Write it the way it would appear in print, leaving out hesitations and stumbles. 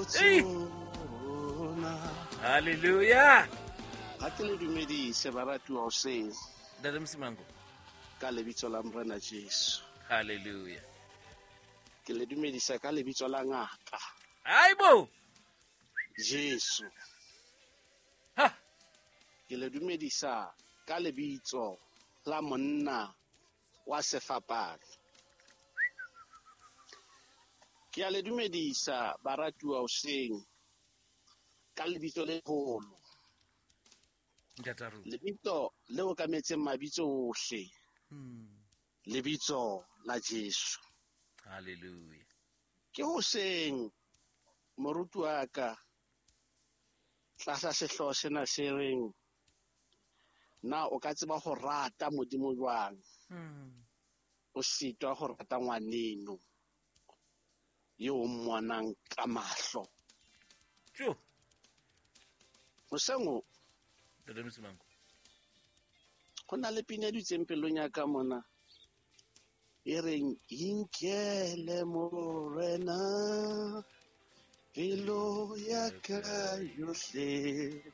Ho tsona. Halleluja. Ga ke le dumedise baratuwa hoseng. Ntate Msimango. Ka lebitso la Morena Jesu. Halleluja. Ke le dumedisa ka lebitso la ngaka. Hayibo. Jesu. Ha. Ke le dumedisa ka lebitso la monna wa sefapano. Ke a le dumedisa baratuwa hoseng ka lebitso le leholo. Ntate rona. Lebitso le okametseng mabitso ohle. Lebitso la Jesu. Hallelujah. Ke hoseng moruti wa ka tlasa sehlooho sena se reng na o ka tseba ho rata Modimo jwang? O sitwa ho rata ngwaneno eo o mmonang ka mahlo. Tjo. Hoseng o Ntate Msimango. Ho na le pina e dutseng pelong ya ka mona e reng inkele Morena pelo ya ka yohle.